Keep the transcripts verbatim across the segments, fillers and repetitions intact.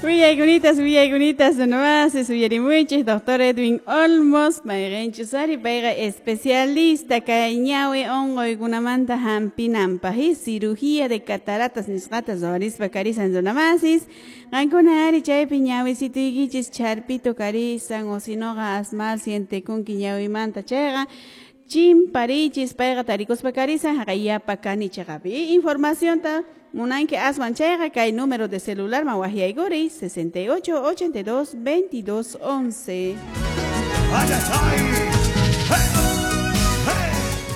Willaykunitas, willaykunitas nomás uyarimuchis doctor Edwin Olmos, mayqinchus ari payqa especialista kay ñawi unquykunamanta hampinanpaq y cirugía de cataratas nisqata ruwarispa karisan runamasis. Qankuna ari chaypi ñawisituykichis charpito karisan o sinoqa asmal sientekunki ñawimanta chayqa chimparichis payqa tarikuspa karisan haqay Yapacani chiqapi. Informacionta munanki aswan chayqa kay número de celular man waqyaykuriy sesenta y ocho, ochenta y dos, veintidós, once.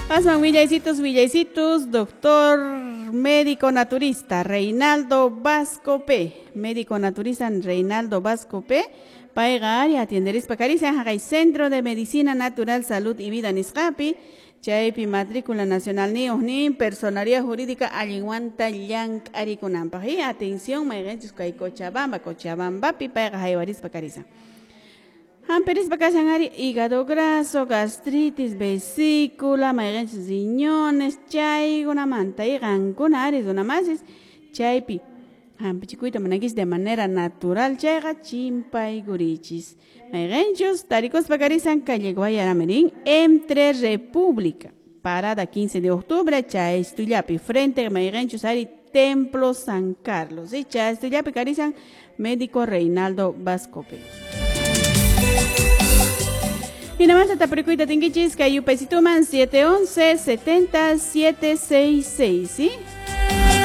Aswan willaycitos, willaycitos, doctor médico naturista Reinaldo Vasco P. Médico naturista Reinaldo Vasco P. Payqa ari atienderispa karisan haqay Centro de Medicina Natural, Salud y Vida nisqapi. Chaypi matrícula nacional niyuq nin personalidad jurídica allinwanta llank'arikunanpaq. Y atención mayqinchus kay Cochabamba, Cochabambapi payqa haywarispa karisan. Hampirispa kashan ari hígado graso, gastritis, vesícula, mayqinchus riñones, chaykunamanta y qankuna ari runamasis chaypi hampichikuyta munankichis de manera natural chayqa chimpaykurichis. Mayqinchus tarikuspa karisan calle Guayaramerín entre República, parada quince de octubre, Chaystullapi, frente mayqinchus ari Templo San Carlos. Y Chaystullapi karisan médico Reinaldo Vasco P. Y nada más tapurikuyta tinkichis kay yupaysituman siete once setenta siete seis seis, ¿sí?